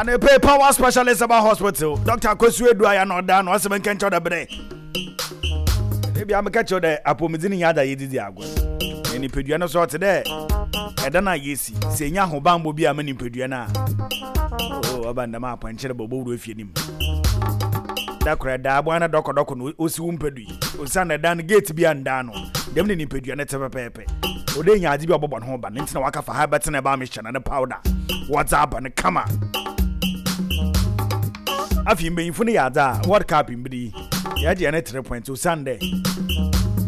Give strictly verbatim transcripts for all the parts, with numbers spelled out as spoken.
Anepe Power Specialist Herbal Hospital, Doctor Akosu Edu aya na ɔda na ɔsɛ menka nkyɛw dɛ berɛ ebi ameka kyerɛw dɛ apɔmudzi no nyɛ ada yɛdidi agorɔ na nipadua no so ɔte dɛ ɛda no a yɛsi sɛ ɛnya ahobanbɔ bi ama nipadua no a oh, ɔba ndɛm apɔnkyerɛ bɔ ɔbɔwuro afie nim da korɔ ɛda aboa no dɔkɔdɔkɔ no ɔsi wo mpa du yi osiane ɛda no gate bi andaa no dɛm ne nipadua no te pɛpɛɛpɛ. Ɔde nya adze bi a ɔbɔbɔ ne ho ba ne nti na waka fa ha bɛtena ɛba mehyɛ na ne powder wɔdze aba no kama. Afei mbanyinfo no yɛ adze a World Cup mbere yi yɛgye yɛn three points osiane dɛ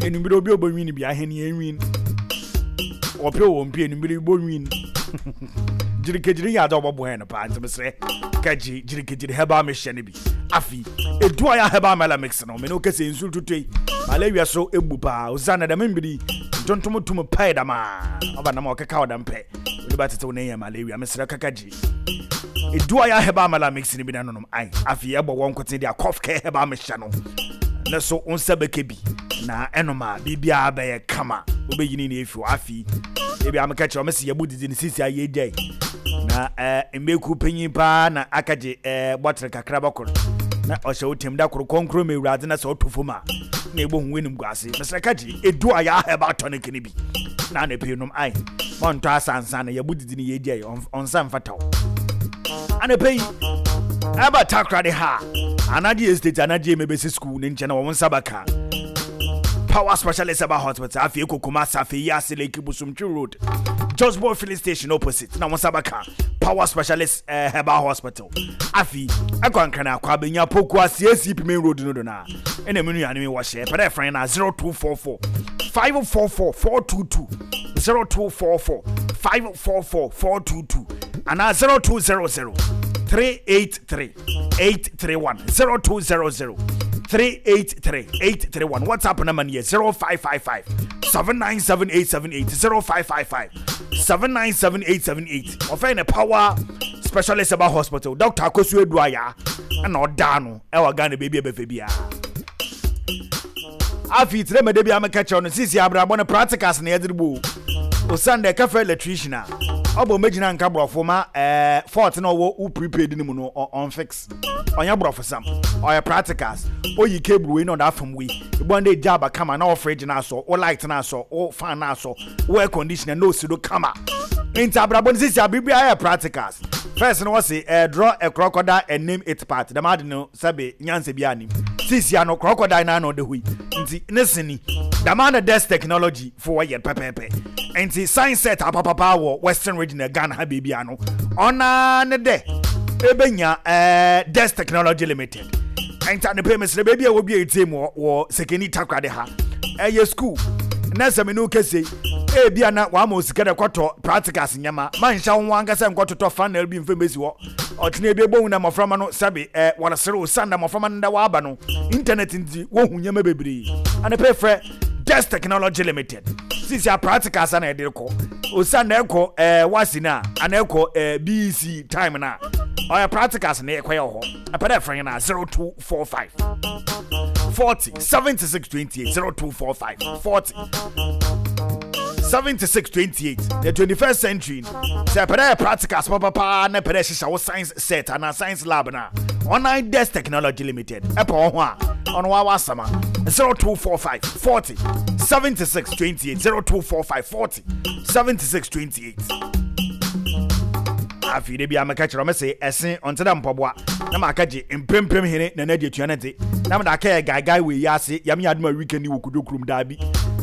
enumbere obi a ɔbɛwin bi ahɛn yɛn win wɔpɛ wɔ mpe enumbere bi bɔ win gyirikegyiri yɛ adze a ɔbɔbɔ yɛn no paa. Nti mesrɛ kagye gyirikegyiri herbal mixture no bi. Afei edu a yɛ herbal mela mix no mene wokɛsɛ nsuo tutu yi malaria so ebu paa osiane dɛm mbere yi ntontom tum pae dɛm a ɔba nam a ɔkeka ɔdɛm pɛ wode bɛtete wo ne yɛ malaria. Mesrɛ kaka gye edu a yɛ herbal mela mix no bi na nonom. Ai, afei ɛbɔ wɔn nkoten de a cough care herbal mixture no ne so wo nsa bɛka bi na ɛnom a biribiara bɛyɛ kama, wobɛyini ne efi hɔ. Afei ebi ameka kyerɛ ɔmo sɛ yɛbu didi ne sisi a yɛgyae na ɛɛ mbeku panyin paa na aka gye ɛɛ bɔtere kakra bɔkoro na ɔhyɛ wo tɛm da koro kɔnkoro ma Ewuradze na sɛ ɔtɔ fam a na ebo hu w'anim gu ase. Mesrɛ ka gye edu a yɛ herbal tonic ne bi na na pii nom. Ai, mɔntɔ asansa na yɛbu didi ne yɛgyae ɔnsa mfata wo. Anapɛ yi ɛba Takoradi ha, Anagye Estate, Anagye mebɛsi school ne nkyɛn na wɔn nsa bɛka Power Specialist Herbal Hospital. Afei ekɔ Kumasi, afei yi ase Lake Bosomtwi Road, Josbo Filling Station opposite na wɔn nsa bɛka Power Specialist uh, Herbal Hospital. Afei ɛkɔ Nkran akɔ abɛnya Poku ase A C P Main Road no do na ɛna mu nuanom yi wɔhyɛ pɛrɛ ɛfrɛn na zero two four four five four four four two two, zero two four four five four four four two two anaa zero two zero zero three eight three eight three one, zero two zero zero three eight three eight three one. WhatsApp number yɛ zero five five five seven nine seven eight seven eight, zero five five five seven nine seven eight seven eight. Ɔfɛn ne Power Specialist Herbal Hospital, Doctor Akosu Edu aya ɛna ɔdaa no ɛwɔ Ghana beebi a ɛbɛfɛ biara. Afei tire mɛde bi ameka kyerɛw no sisi abrabɔ no practicals na yɛde bo osan dɛ kafa electrician a ɔbɔ mɛgyina nka borɔfo ma ɛɛ fault na ɔwɔ wo prepaid no mu no ɔnfix ɔnyɛ borɔfo sam, ɔyɛ practicals. Oyi cable wei na ɔda afam wei ebu ande gya aba kama na ɔfridge na asɔ, wo light na asɔ, wo fan na asɔ, wo air conditioner na osi do kama. Nti abrabɔ no sisi abiribi ayɛ practicals. First no wɔsi ɛɛ draw a crocodile and name it part dɛm ade no sɛbe nyansa bi anim. Sisi ano crocodile na ano ɔda hɔ yi nti ne sini dɛm ana Desk Technology fo wɔyɛ pɛpɛɛpɛ. Nti science set apapapa wɔ Western Region na Ghana ha beebi ano ɔnaa ne dɛ ebenya ɛɛ Desk Technology Limited. Nti anepɛ mesrɛ beebi a wɔbi etie mu wɔ Sekeni Takoradi ha ɛyɛ school na sɛ mene wo kɛse ebi ana wama osika dɛ kɔtɔ practicals nyɛma ma nhyɛ wo ho ankasa nkɔtotɔ funnel bi mfɛn besi hɔ ɔtena ebi ebohu na mmɔframma no sɛbe ɛɛ wɔresere osan na mmɔframma no da waba no internet nti wohu nneɛma bebree. Anepɛ frɛ Desk Technology Limited. Sisi a practicals ana yɛde kɔ osan na ɛkɔ ɛɛ wasi na ana ɛkɔ ɛɛ B E C time na ɔyɛ practicals na ɛkɔ yɛ hɔ. Ɛpɛ dɛ frɛ na zero two four five forty seventy six twenty eight, zero two four five forty seventy six twenty eight. The twenty first century sɛ ɛpɛ dɛ yɛ practicals papapaa na ɛpɛ dɛ hyehyɛ wo science set anaa science lab na Online Desk Technology Limited ɛpɛ wɔ ho a ɔno wa wasama zero two four five forty seventy six twenty eight, zero two four five forty seventy six twenty eight. Afei de bi ameka kyerɛ ɔmo sɛ ɛse ɔnte dɛ mpɔboa na maka gye mpempem hene na n'adi atua ne te na mede aka yɛ gaegae wɔ yi ase yam yɛ adoma weekend wɔ Kodwo kurom daabi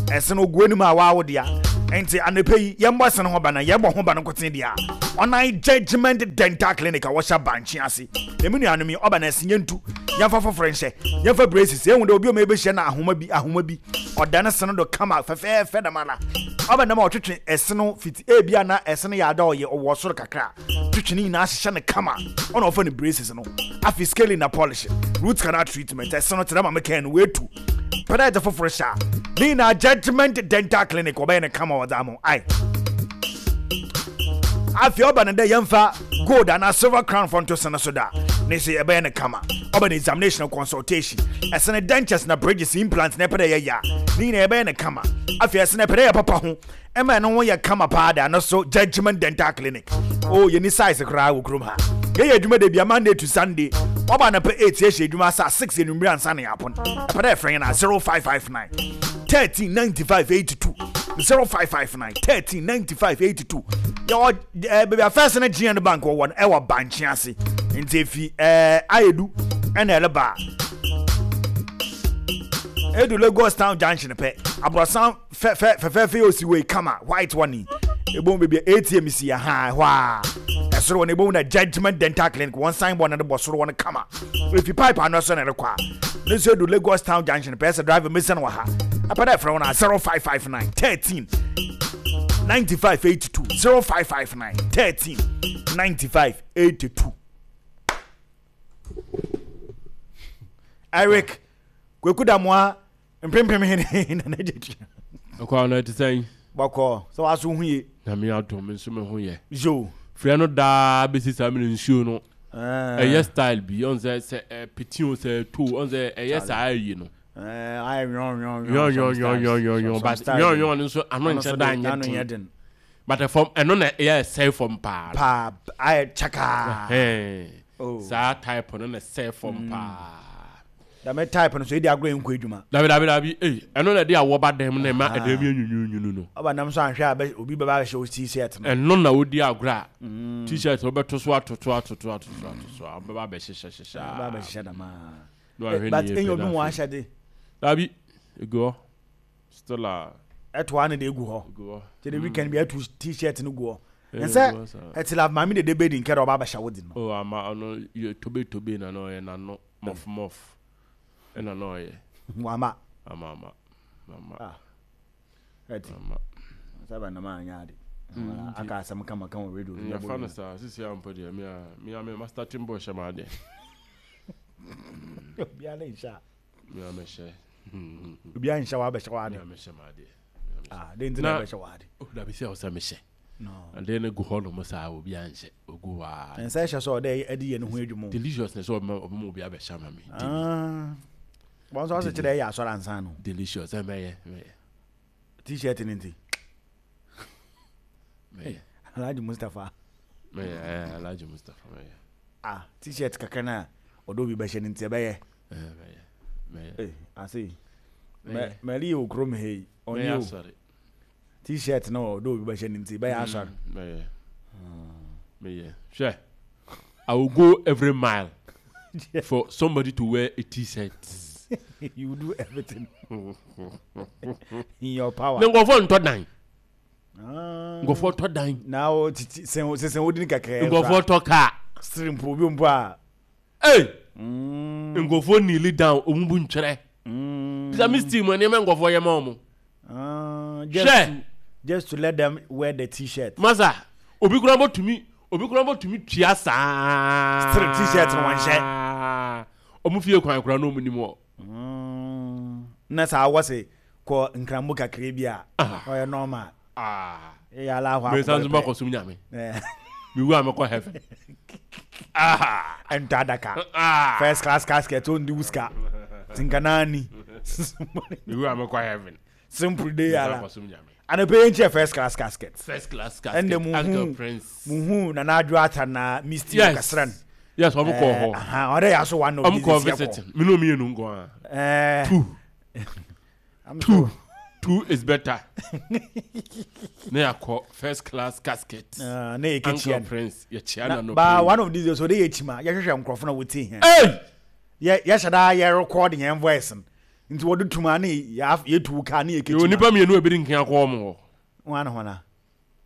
ɛse no ogu anim a waawo dea. Nti anɔpɛ yi yɛmbɔ ɛse no ho ba na yɛbɔ ho ba no nkoten deɛ a ɔnan Judgment Dental Clinic a wɔhyɛ bankye ase na emu nuanom yi ɔba na ɛse yɛntu yɛmfa foforɔ nhyɛ yɛmfa braces. Ehu dɛ obi a ɔma yɛbɛhyia na ahoma bi ahoma bi ɔda ne se no do kama fɛfɛɛfɛ dɛm ara ɔba nam a ɔtwetwe ɛse no fiti ebia na ɛse no yɛ ada ɔyɛ ɔwɔ soro kakra twetwe ne nyinaa hyehyɛ no kama ɔna ɔfa ne braces no. Afei scaling na polishing, root canal treatment, ɛse no tena ma mekɛn no wetu pɛdɛ ɛdze foforɔ hyɛ a ne nyinaa Judgment Dental Clinic ɔbɛyɛ no kama ɔdze ama. Ai, afei ɔba no dɛ yɛmfa gold anaa silver crown fɔ nto sene so da ne sɛ yɛbɛyɛ no kama. Ɔba no examination, consultation, ɛsene dentures na bridges, implant na ɛpɛ dɛ yɛyɛ a ne nyinaa yɛbɛyɛ no kama. Afei ɛsene ɛpɛ dɛ yɛ papa ho ɛma ɛno ho yɛ kama paa da no so Judgment Dental Clinic o yɛni size koraa wɔ kurom ha. Yɛyɛ adwuma da bia Monday to Sunday. Ɔba anapa eight yɛhyɛ adwuma asa six enumere ansa na yɛapɔn. Ɛpɛ dɛ ɛfrɛ yɛn a zero five five nine thirteen ninety five eighty two zero five five nine thirteen ninety five eighty two. Yɛwɔ ɛɛ baabi a first no G N Bank wɔ no, ɛwɔ Bankye ase. Nti efi ɛɛ Ayedu ɛna ɛreba edu Lagos Town Junction pɛ, aborɔsan fɛfɛ fɛfɛɛfɛ yɛ osi wei kama, white one yi, ebom baabi a A T M si aha hɔ a ɛsoro wɔ no, ebom na Judgement Dental Clinic wɔn sign board na de bɔ soro wɔ no kama. Efi pipe ano so na ɛrekɔ a ne nso edu Lagos Town Junction pɛ sɛ driver mesi no wɔ ha. Apɛ dɛ ɛfrɛ wɔn a zero five five nine thirteen ninety five eighty two zero five five nine thirteen ninety five eighty two. Eric Kweku Damoa mpempem hene na n'agya tua. Ɛkɔ no ɛte sɛn? Bɔkɔ sɛ waso ho ye. Nyame adom, nso me ho yɛ. Yo. Frɛ no daa bɛsi saa mene nsuo no ɛyɛ style bi ɔn sɛ sɛ ɛpete o, sɛ ɛto ɔn sɛ ɛyɛ saa ayi no. Ayɛ nwɔn. Nwɔn nwɔn nwɔn nwɔn nwɔn, but nwɔn nwɔn no nso ano nkyɛ da nyɛ den, but ɛfam ɛno na ɛyɛ ɛsɛe fam paa. Paa, ayɛ kyakaa. Ɛhɛn, saa type no na ɛsɛe fam paa. Dame type no so edi agorɔ nkɔ adwuma. Dabi dabi dabi, ee, ɛno na ɛde awɔ ba dɛm na ɛma ɛdɛm yɛ nwunwunwunu no. Ɔba nam so ahwɛ a bɛ obi bɛba abɛhyɛ o T-shirt no. Ɛno na wodi agorɔ a T-shirt wobɛto so atoto atoto atoto atoto so a wobɛba abɛhyehyɛ hyehyɛ. Bɛba abɛhyehyɛ dama. Na wahwɛ but ne yie enye pɛ obi na mu afei. ahyɛ de. Dabi, egu hɔ still a. Ɛtoa ne de egu hɔ. Egu hɔ. Kyerɛ weekend bi ɛto T-shirt no gu hɔ. Eh, nsɛ egu hɔ saa. Ɛte la maame dede bedi nkɛ dɛ ɔba abɛhyɛ wo de no. O ama ɔno yɛ tobe tobe na na ɔyɛ n'ano mɔf mɔf ɛna na ɔyɛ. Wama. Ama ama ama. Ah, ɛte ama. Sábà nam anya ade Mm, aka asɛm kama kama wɔ radio. Yɛfa no saa sisi a mpo deɛ mea mea me master timbo hyɛ ma adeɛ. Obiara nhyɛ a. Mea mehyɛ. Obiara nhyɛ wa abɛhyɛ wa ade. Mea mehyɛ ma adeɛ. Ah, de nti na Na- ɛbɛhyɛ wa ade. Oh, dabi, sɛ ɔsɛ mehyɛ. No. Adeɛ no gu hɔ nom saa, obi anhyɛ, ogu hɔ a. Nsa ɛhyɛ sɛ ɔdɛ ɛde yɛ ne ho adwuma o. Delicious na sɛ ɔbɛma ɔbɛma obi abɛhyɛ ama me. Ah. Wɔn nso ɔsɛ kyerɛ ɛyɛ asɔre ansa no. Delicious, ɛ mɛyɛ mɛyɛ. T-shirt ne nti. Mɛyɛ. Alhaji Mustapha. Mɛyɛ, ɛ Alhaji Mustapha, mɛyɛ. Ah, T-shirt kakra na ɔdɔ obi bɛhyɛ ne nti ɛbɛyɛ. Ɛ mɛyɛ mɛyɛ. Ee, ase. Mɛyɛ. Mɛli yɛ okurom ha yi. Mɛyɛ Ɔnye o. asɔre. T-shirt na ɔdɔ obi bɛhyɛ ne nti bɛyɛ asɔre. Mm, mɛyɛ mɛyɛ. Hwɛ, I will go every mile for somebody to wear a T-shirt. You will do everything in your power. Ne nkɔfoɔ ntɔ dan. Ah. Nkɔfoɔ tɔ dan. Na o titi sɛn sɛn o di ni kakra. Nkɔfoɔ tɔ kaa. Siri mpo obi mpo a. Ee. Mm. Nkɔfoɔ kneel down, ɔmu bu ntwerɛ. Mm. Bisa me steam nneɛma nkɔfoɔ yɛ ma ɔmo. Ah, just Hwɛ. to just to let them wear the T-shirt. Masa, obi kura bɔ tumi obi kura bɔ tumi tua saa. Still T-shirt no wɔnhyɛ. Ɔmo fie kwan kura na ɔmo nim hɔ. Mm. Na saa wɔ se kɔ nkramu kakra bi a Ah. ɔyɛ normal. Ah. Ɛyɛ ala hɔ. Mɛ nsan so ma kɔ sum Nyame. Mi wu a mɛkɔ heaven. Ah. Ɛntɔ adaka. Ah. First class casket o ndi wuska. Tinkanani. Mi wu a mɛkɔ heaven. Simple day Mɛ ala. nsan kɔ sum Nyame. Anɔpɛ yɛn kyɛ first class casket. First class casket. Ɛnna mu Uncle hu Prince. mu hu Nana Adwo Ata na Misty Yes. Kasran. Yes, ɔmo kɔ hɔ. Ɔdɛ yɛ aso one of Ɔmo these kɔ days yɛ kɔ. visiting. Mi n'o mienu nkɔ a. Ɛɛ. Two. I'm Two. sure. Two is better. Ne yà kɔ first class casket. Ah, ne yɛ Uncle kekyia no. Prince yɛ kyia Na na no. ba one of these days ɔde yɛ kyima yɛhwehwɛ nkurɔfo na wɔtie hɛn. Hey! Yɛ yɛhyɛ daa yɛ record yɛn voice no. Nti wɔde tuma ne yɛ yɛtu kaa ne yɛ Yɛ kekyima. nipa mmienu a ebi di nkan akɔ ɔmo hɔ. Wɔn ana hɔn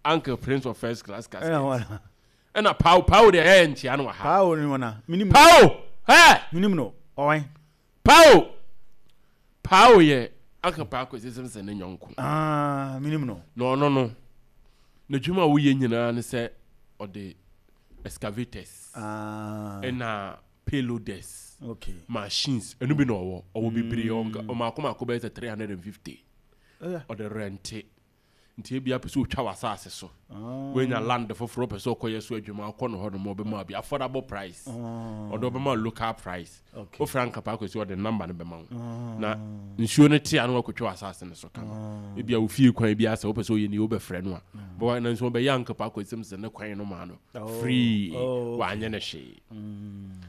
Uncle Prince of first class casket. ɛna hɔn. Ɛna Pao Pao deɛ ɛyɛ nkyia no wɔ ha. Paa o ni hɔn a. Minim. Pao! Hɛ! Minim no. Ɔwɛn. Pao! Pao yɛ Uncle Pao Kwesi Simpson ne nyɔnko. Ah, minim no. Na ɔno no, n'adwuma a woyɛ nyinaa ne sɛ ɔde excavators Ah. ɛna payloaders, Okay. machines ɛno bi na ɔwɔ ɔwɔ bebree, ɔnka ɔmaako maako bɛyɛ sɛ three hundred and fifty. Oh, yeah. Ɔde rente. Nti ebi apɛ sɛ otwa w'asase so, woanya land foforɔ, pɛ sɛ ɔkɔyɛ so adwuma, ɔkɔ no hɔ nom, ɔbɛma bi affordable price, ɔde ɔbɛma local price. Okay. Wofrɛ Uncle Paa Kwesi, ɔde number no bɛma wo na nsuo no te a na wakɔtwa w'asase no so kama. Ebi a wofie kwan bi asɛ wopɛ sɛ ɔyɛ ni, wobɛfrɛ no a bɔwa na nso ɔbɛyɛ Uncle Paa Kwesi sɛ ne kwan no ma no Oh. free. Oh, okay. Wanyɛ ne hwee.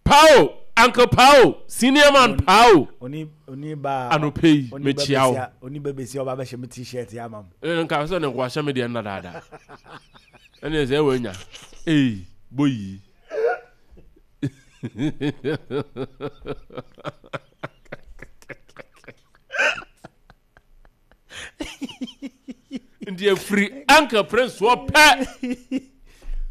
Pao, Uncle Pao, senior man Pao. Oni oni ba. Anɔpɛ yi oni ba mekyia wo. besia, oni ba besia ɔba bɛhyɛ me T-shirt yi ama m. Ɛno nka sɛ ne nkoahyɛ me deɛ nna daadaa ɛne sɛ ɛwɔ anya ei boyi. Nti afiri Uncle Prince wɔ pɛ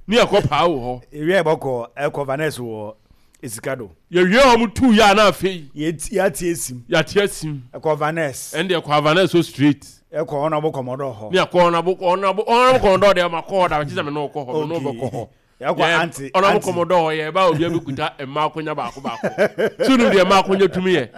ne yɛkɔ paa wɔ hɔ. Ewia yɛbɔkɔ ɛkɔ Vanessa wɔ Esikado. Yɛwie ɔmo tu yɛ a na afei Yɛti yɛate esim. Yɛate asim. Ɛkɔ Vanessa. Ɛne deɛ kɔ Vanessa so straight. Ɛkɔ Honorable Commodore hɔ. Ne yɛkɔ Honorable Honorable Honorable Commodore deɛ ma kɔ hɔ da, kyerɛ sɛ me ne wo kɔ hɔ, me ne wo bɛkɔ hɔ. Yɛkɔ Yɛ- aunty Honorable aunty. Commodore yɛ ba, obi abɛkuta mmaa akonya baako baako so wonim deɛ mmaa akonya tumi yɛ,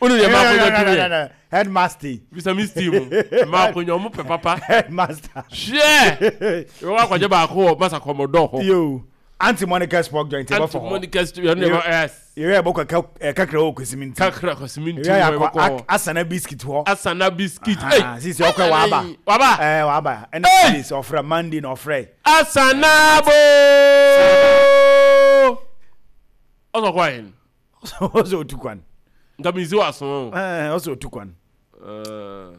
wonim deɛ mmaa akonya tumi yɛ. Headmaster. Bisa mi steam mmaa akonya, ɔmo pɛ papa. Headmaster. Hwɛ, yɛwɔ akɔgye baako wɔ masa Commodore hɔ. Yo, Aunty Monica Sport Joint Aunty yɛbɔfɔ hɔ. Monica Street yɛn deɛ yes. Yɛwia yɛbɔkɔ ka- kakra wɔ Kwesimi nti. Kakra kɔsimi nti. Yɛwia wɔ yɛakɔ yɛbɛkɔ hɔ. Ak- Asana Biscuit hɔ. Asana Biscuit. Ah, Ei, sisi ɔkɔ waba. Waba. Ɛɛ, waba. Ɛna Hey! sɛ ɔfrɛ Monday na ɔfrɛ. Asana bo ɔsɔ kɔ ayin. Ɔsɛ otu kwan. Nka mi nsi wa so. Ɛɛ, ɔsɛ otu kwan.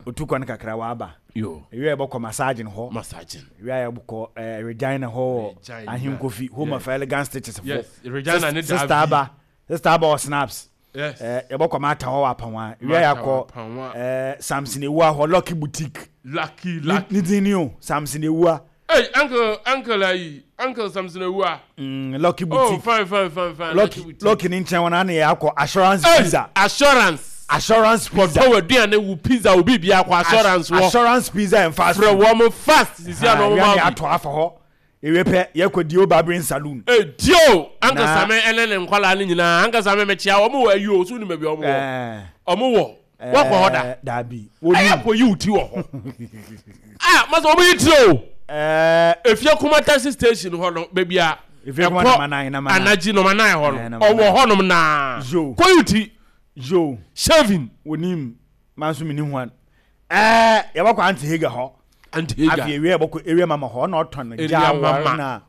Otu kwan kakra waba. Yo. Ewia yɛbɔkɔ massage hɔ. Massaging. Ewia yɛbɔkɔ ɛɛ Regina hɔ wɔ Regina. Ahenkofi Home of Elegant Stitches fo. Yes, Regina ne Sister Davi. Aba, Sister Aba wɔ Snaps. Yes. Ɛɛ, yɛbɔkɔ Mata hɔ wɔ Apanwa. Ewia Mata yɛakɔ wɔ Apanwa. ɛɛ Samson Ewua hɔ, Lucky Boutique. Lucky Ne Lucky. ne din ni o, Samson Ewua. Hey, uncle uncle ayi, Uncle Samson Ewua. Mm, Lucky Oh, Boutique. fine fine fine fine. Lucky Boutique. Lucky ne nkyɛn wɔn ana yɛ akɔ Assurance Hey, Pizza. Assurance. Assurance Pizza. Kɔtɔ aduane wo pizza obi bi akɔ Assurance wɔ. Assurance Pizza and Fast Frɛ Food. wɔn fast sisi Ah, ano wɔn ewia ne ma bi. ato afa hɔ. Ewie pɛ yɛkɔ Dio Barbering Saloon. Hey, Dio, Uncle Na- Same ɛne ne nkɔla ne nyinaa, Uncle Same mekyia wɔn wɔ ayi o so nim baabi wɔn wɔ. Ɛɛ. Wɔn wɔ wɔkɔ hɔ da. Ɛɛ, Dabi. Ɛyɛ Wonim. kɔ yi wo ti wɔ hɔ. Ah, masa wɔn yi ti o. Ɛɛ. Efie Kuma taxi station hɔ no, baabi a Efie Kuma ɛkɔ number nine, number nine. Anagye number nine hɔ Eh, no, number ɔwɔ nine. hɔnom naa. Yo. Kɔ yi wo ti. Yo. Shaving. Wonim. Maa nso mi ni huan. Ɛɛ, yɛbɛkɔ Aunty Hager hɔ. Aunty Hager. Afei ewia yɛbɛkɔ Area Mama hɔ, ɔna ɔtɔn Area gya Mama. awɔre na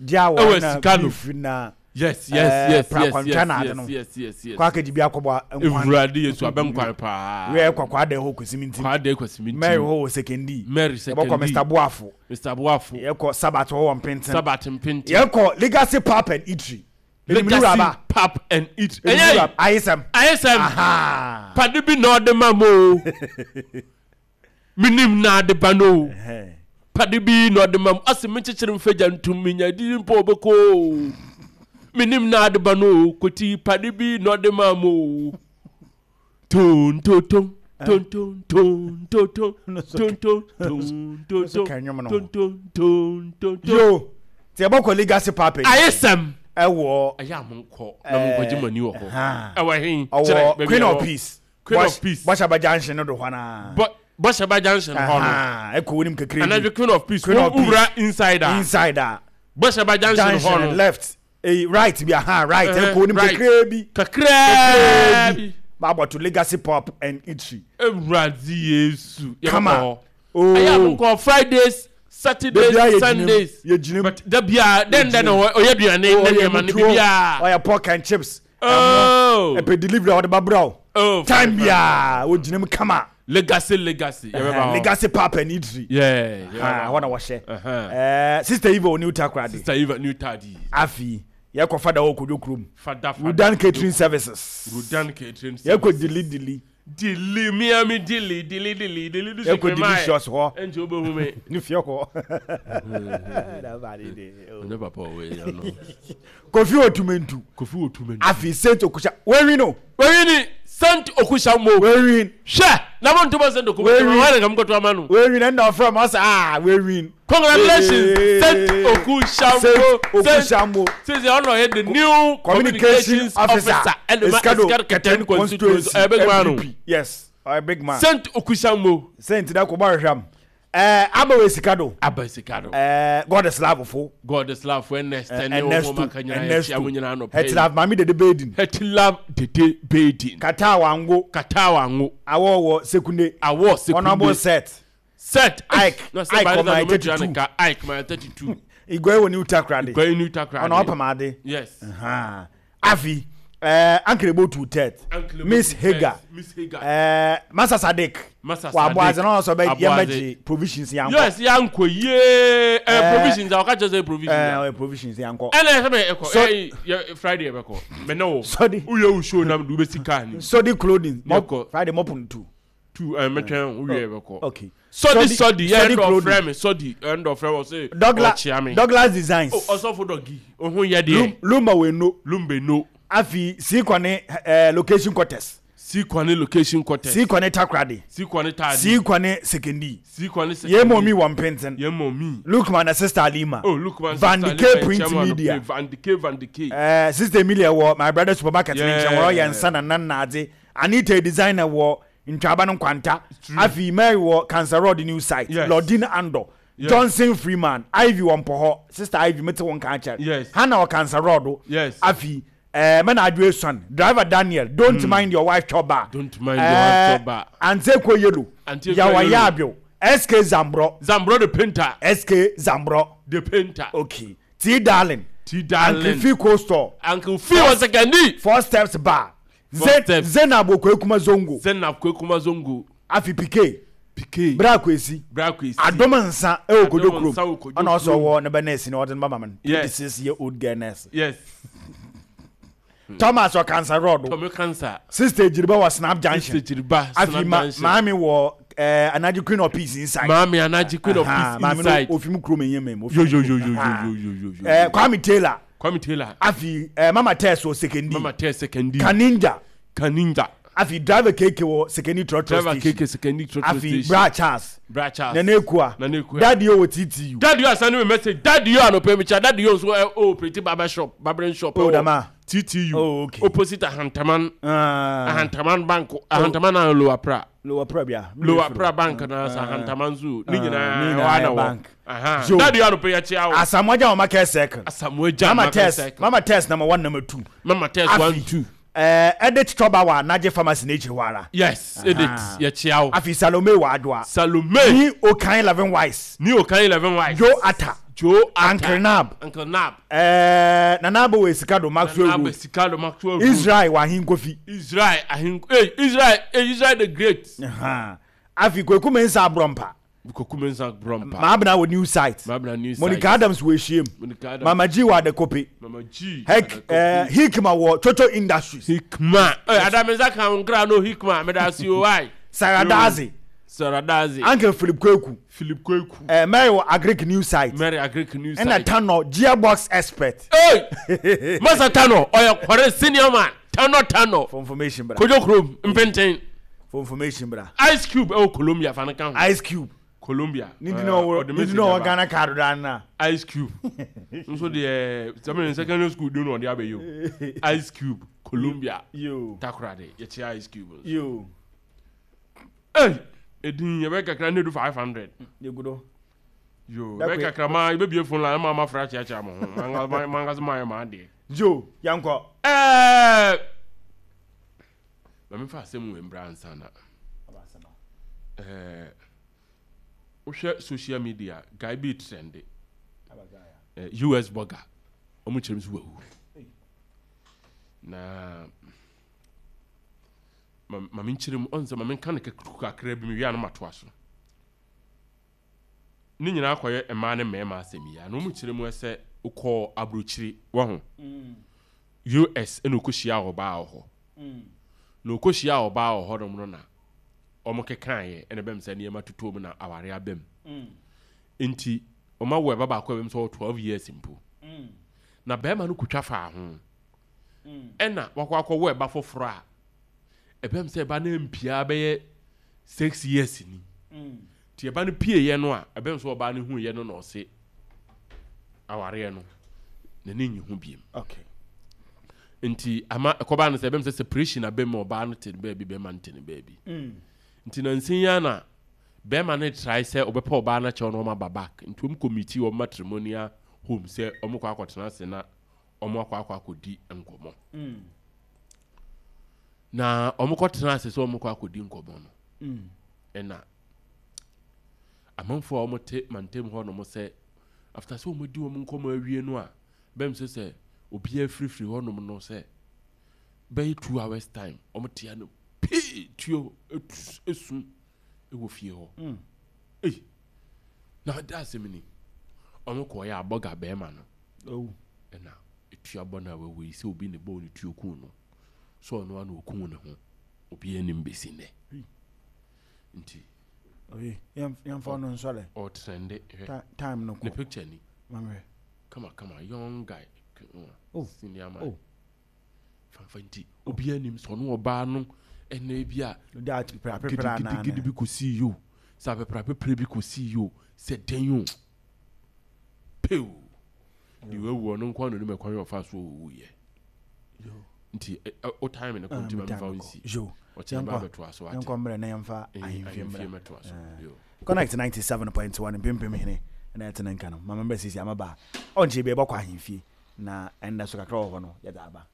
gya Ɛwɔ awɔre na sika no. beef na Yes ɛɛ, yes yes yes prakwantwa yes na ade yes no. yes yes yes. Kɔ akɛgye bi akɔbɔ nkwan. Ewurade Yesu, abɛnkwan paa. Ewia yɛkɔ kɔ ada hɔ Kwesimi nti. Kwade Kwesimi nti. Mary hɔ wɔ Sekondi. Mary Yɛbɛkɔ Sekondi. Mister Boafo. Mister Boafo. Yɛkɔ Sabat hɔ wɔ Mpenten. Sabat Mpenten. Yɛkɔ Legacy Pap and Eatery. Legacy Pap and Eat. Ɛyɛ Ɛyɛ ayesɛm. Ayesɛm. Aha. Pade bi na ɔde ma mo o. Minim na ade ba no o. Ɛhɛn. Pade bi na ɔde ma mo. Ɔsi mi kyekyere mfagya ntum mi nya didi mpo ɔbɛkɔ o. Minim na ade ba no o. Koti pade bi na ɔde ma mo o. Ton ton ton. Ton ton ton ton ton No so ton ton ton ton so ton ka nnwom no ho. ton ton ton ton ton. Yo. Ti yɛbɛkɔ Legacy Pap and Eatery. Ayesɛm. Ɛwɔ. Ɛyɛ a mo nkɔ na mo nkɔgye mo ani wɔ hɔ. Ɛhã. Ɛwɔ he? Kyerɛ Ɔwɔ baabi Queen a of ɛwɔ. Peace. Queen Bɔs- of Peace. Bɔhyɛba Junction no do hɔ naa. Bɔ Bɔhyɛba Junction hɔ no. Aha, ɛkɔ wonim kakra bi. Anadwo Queen of Peace. Queen of Peace. Wura inside a. Inside a. Bɔhyɛba Junction hɔ Junction no. left. Eh, right bi, aha, right. Ɛhɛ, Ɛkɔ wonim right. kakra bi. Kakraa bi. Baabɔto Legacy Pop and Eatery. Ewurade Yesu. Yɛbɛkɔ Kama. hɔ. Oh. Ɛyɛ a mo nkɔ Fridays, Saturdays, Dabi a yɛgyina mu. Sundays. Yɛgyina mu. But dabi a dɛn dɛn na ɔyɛ aduane ne Ɔyɛ nneɛma ne mutuo, biribiara. ɔyɛ pork and chips. Oh. Ɛmo. Ɛpɛ delivery a ɔde ba brɛ wo. Oh, Time fine, fine. biara wogyina mu kama. Legacy Legacy. Yɛbɛba hɔ. Legacy Pap and Eatery. Yeah. Ah, Yɛbɛba hɔ hɔ. na wɔhyɛ. Uh-huh. Ɛɛ, Sister Eva wɔ New Takoradi. Sister Eva New Tadi. Afei yɛkɔ Fada hɔ Kodwo kurom. Fada Fada. Rudan Catering Services. Rudan Catering Yɛkɔ Services. Dili Dili. Dili Miami dili dili dili dili dili. Yɛkɔ Delicious hɔ. Ɛnti wobɛhu me. Ne fie hɔ. Ɔnyɛ papa ɔwɔ yi ano. Kofi Otumentu. Kofi Otumentu. Afei Saint Okusha. Wɛwi no. Wɔyi ni Saint Okusha mo. Wɛwi. Hwɛ na mo ntoma Saint Okusha. Wɛwi. Wɔn na nkɔtɔ ama no. Wɛwi na ɛna ɔfrɛ ma ɔsɛ ah wɛwi. Congratulations, Saint Okusha mo. Saint Okusha mo. Since ɔno ɔyɛ the new Communication communications officer. officer ɛde ma Essikado Essikado Ketan constituency. Ɛyɛ big man o. M P. Yes, ɔyɛ big man. Saint Okusha mo. Saint da kò bá rehwɛ am. Eh, aba sika do. Aba sika do. Eh, God is love fo. God is love fo Ernest ne Ernesto wɔn aka nyinaa yɛkyia mo nyinaa anɔpa yi. Hetilove Maame Dede Bedin. Hetilove Dede Bedin. Katawa Ngo. Katawa Ngo. Awɔ wɔ Sekunde. Awɔ Sekunde. Honorable Set. Set. Ike. Na sɛ Ike Barisa ɔman na ɔbɛtua ne thirty-two. ka Ike man thirty-two. Igwe wɔ New Takoradi. Igwe New Takoradi. Ɔna ɔpam ade. Yes. Uh-huh. Afi. Eh, Uncle Ebo two third. Uncle Ebo Miss two third. Hager. Miss Hager. Eh, Masa Sadik. Masa Wa Sadiq. abo adze na ɔsɔ bɛ Aboadze. yɛmɛgye provisions yankɔ. Yes, yankɔ yie. Eh, provisions a ɔka kyerɛ sɛ provisions. Eh, ɔyɛ provisions yankɔ. Ɛna ɛsɛ bɛ ɛkɔ. So- Ɛyi yɛ Friday ɛbɛkɔ. Mɛ ne wo. Sɔdi. Woyɛ wo show nam de wobɛsi car ni. Sodi clothing. Mop, Yɛkɔ. Friday mop two. Two ɛɛ mɛtwɛn wowie ɛbɛkɔ. Okay. Sɔdi sɔdi yɛ Sɔdi ɛndɔ clothing. frɛ mi sɔdi ɛndɔ frɛ mi ɔsɛ Douglas ɔkyia mi. Douglas Designs. O ɔsɔfo dɔgi ohun yɛ deɛ. Lum, Lumba Weno. Lumbe no. Afi Sikwane eh, location quarters. Sikwane location quarters. Sikwane Takoradi. Sikwane taadi. Sikwane Sekondi. Sikwane sekondi. Yemo mi wɔ Mpenten. Yemo mi. Lukman na sister Alima. Oh Lukman. Van sister Dike Lima, Print chairman of Media. Van Dike Van Dike. Eh, sister Emilia wɔ my brother supermarket ne Yeah. nkyɛn wɔrɔ yɛ nsa na nan na adze. Anita designer wɔ Ntwaba no nkwanta. true. Afi Mary wɔ Cancer Road new site. Yes. Lordina Ando. Yes. Johnson Freeman. Ivy wɔ Mpɔhɔ. Sister Ivy mete wɔn kan kyerɛ. Yes. Hannah wɔ Cancer Road. Yes. Afi eh, mɛna adwo esuan. Driver Daniel. Don't mind your wife chɔba. Don't mind your wife chɔba. Ante Yellow. Ante Yawa Yellow. Yabio. S K Zambro. Zambro the painter. S K Zambro. The painter. Okay. T Darling. T Darling. Uncle Fico store. Uncle Fi wɔ Sekondi. Four Steps Bar. Four Ze- Steps. Zainab Okwekuma Zongo. Zainab Kwekuma Zongo. Afi P K. P K. Bra Kwesi. Bra Kwesi. Adom nsa ɛwɔ Kodo Adom kurom. nsa wɔ Kodo Ɔna ɔsɔ kurom. wɔ ne bɛ nurse na ɔde ne ba mama no. Yes. twenty-six year old girl nurse. Yes. Thomas wɔ Cancer Road. Tommy Cancer. Sister Ejiriba wɔ Snap Junction. Sister Jiriba. Afi Snap ma Junction. maame wɔ eh, Anaji Queen of Peace inside. Maame Anaji Queen of Aha, Peace maame inside. no ofim kurom enye mem. Yo yo yo yo yo yo yo yo yo. Eh, Kwame Taylor. Kwame Taylor. Afi eh, Mama Tess wɔ Sekondi. Mama Tess Sekondi. Kaninja. Kaninja. Afi driver K K wɔ Sekondi Trotro Driver station. K K Sekondi Trotro Afi station. Bra Charles. Bra Charles. Nene Ekua. Nene Ekua. Daddy o wɔ T T U. Daddy yo asani me message. Daddy yo anɔpɛ mi kya. Daddy yo nso ɛ o operate barber shop, barbering shop. Oh, ɛwɔ dama. T T U. Oh, okay. Opposite Ahantaman. Ah, Ahantaman Bank. Ahantaman na Lower Pra. Lower Pra bia. Lower Pra Bank na sa Ahantaman so. Ne Ah, nyinaa ne nyinaa ɛwɔ ana yɛ wɔ. bank. Aha. Yo. Daddy yo anɔpɛ yɛ kyia o. Asamoah wɔ Market Circle. Asamoah Gyan Mama Market Tess. Circle. Mama Tess number one, number two. Mama Tess Afi. one two. Eh, Edith Choba wɔ Anagye Pharmacy n'ekyir hɔ ara. Yes, Edith yɛ kyia o. Afi Salome wɔ Adoa. Salome. Ni Okan Eleven Wise. Ni Okan Eleven Wise. Joe Atta. Joe Atta. Uncle Nab. Uncle Nab. Eh, Nana Abo wɔ Esikado Maxwell Nana Road. Sikado Maxwell Road. Israel wɔ Ahinkofi. Israel Ahinko. Hey, Israel, hey, Israel the Great. Aha. Afi Kweku Mensah Abrɔmpa. Koku Mensah Brompa. Maabena wɔ New Site. Maabena New Site. Monica Adams wɔ Ehiem. Monica Adams. Mama G wɔ Adekope. Mama G. Hek eh, Hikma wɔ Chocho Industries. Hikma. Hey, Adam Mensah kan nkra no Hikma. Meda si o why. Sarah Dazi. Sarah Dazi. Uncle Philip Kweku. Philip Kweku. Eh, Mary wɔ Agric New Site. Mary Agric New Ɛna Site. Tano Gearbox Expert. Hey! Masa Tano, ɔyɛ kɔre senior man. Tano Tano. For information bra. Kojo Krom, Mpenten. For information bra. Ice Cube ɛwɔ Colombia fa ne ka ho. Ice Cube. Colombia. Ne di na ɔwɔ ɔde ne di message na ɔwɔ aba. Ghana card da na. Ice Cube nso deɛ sɛmɛ secondary school de na ɔde abɛyɛ o. Ice Cube Colombia. Yo. Takoradi yɛkyia Ice Cube nso. Yo. Hey, edin yɛbɛ kakra ne du five hundred. Yegudo. Yo, Dakwe- yɛbɛ kakra ma yɛbɛbie phone line ma ma fra kyeakyea mo ho. Manga manga so ma yɛ ma adeɛ. Joe, yankɔ. Ɛɛ, maame fa asɛm wɔ mbra ansa na ɛɛ wohwɛ social media, guy bi trend, ɛɛ U S burger, ɔmo kyerɛ mu so wawu na ma maame nkyerɛ mu ɔn sɛ maame nka ne kakra bi mi wia no ma toa so. Ne nyinaa kɔyɛ mmaa ne mmarima asɛm yi a na ɔmo kyerɛ mu sɛ wokɔɔ aburokyire wɔ ho U S ɛna okɔhyia ɔbaa wɔ hɔ na okɔhyia ɔbaa wɔ hɔ nom no na ɔmo kekaeɛ ɛna bɛm sɛ nneɛma totɔ mu na aware abam, nti ɔma wo ɛba baako a bɛm sɛ ɔwɔ twelve years mpo na bɛrima no kotwa faa ho ɛna wakɔ akɔwɔ ɛba foforɔ a ɛbɛm sɛ ɛba no mpia bɛyɛ six years ni. Nti ɛba no pieeɛ no a ɛbɛm sɛ ɔbaa no huiɛ no na ɔse awareɛ no n'ani nyi ho biem. Okay. Nti ama ɛkɔbaa no sɛ ɛbɛm sɛ separation abɛm ma ɔbaa no te ne baabi, bɛrima no te ne baabi. Nti nansi yi na Bɛrima no try sɛ ɔbɛpɛ ɔbaa no akyɛw na ɔma aba back, nti ɔm kɔmiti wɔn matrimonial home sɛ ɔmo kɔ akɔtena ase na ɔmo akɔ akɔ akɔdi nkɔmmɔ. Na ɔmo kɔtena ase sɛ ɔmo kɔ akɔdi nkɔmmɔ no, ɛna amanfoɔ a ɔmo te mantam hɔ nom sɛ after sɛ ɔmo di wɔn nkɔmmɔ awie no a, bɛm sɛ sɛ obiara firifiri hɔnom no sɛ bɛyɛ two hours time, ɔmo tea no pii tuo etu esu ɛwɔ fie hɔ. Ei, na da asɛm ni, ɔmo kɔɔ yɛ abɔga bɛrima no. Oh. Ɛna etua bɔ no a wawu yi sɛ obi ne bɔɔ ne tuo kun no so, ɔno ano okun ne ho, obi anim besi nnɛ nti. Oye, yɛmfa ɔno nsɔre. Ɔtrende, hwɛ. Ti- time no ne kɔ. Picture ni. Mamhwɛ. Kama kama, young guy. Oh. Senior man. Oh. Fanfa nti obi anim sɛ ɔno ɔbaa no ɛna bi a da apepra anaa? Gidigidi bi kɔsii yi o, sɛ apepra bi kɔsii yi o, sɛ dɛn o, pew deɛ wawu, ɔno nko ano nim ɛkwan yɛ ɔfa so ɔwuyɛ. Nti ɛ- ɛ, wo time no kɔ, nti ma memfa wo nsi. Yo. Ɔkyerɛ ba Yɛnkɔ. bɛtoa so ate. Yɛnkɔ mmerɛ na yɛmfa Eh, ahemfie ahemfie mmra. mɛtoa so. Eh. Yo. Connect ninety-seven point one, mpempem hene ɛna ɛtene nka no mama mbɛ sisi amaba a ɔnkyerɛ bi ɛbɔkɔ ahemfie na ɛnda so kakra wɔ hɔ no yɛde aba.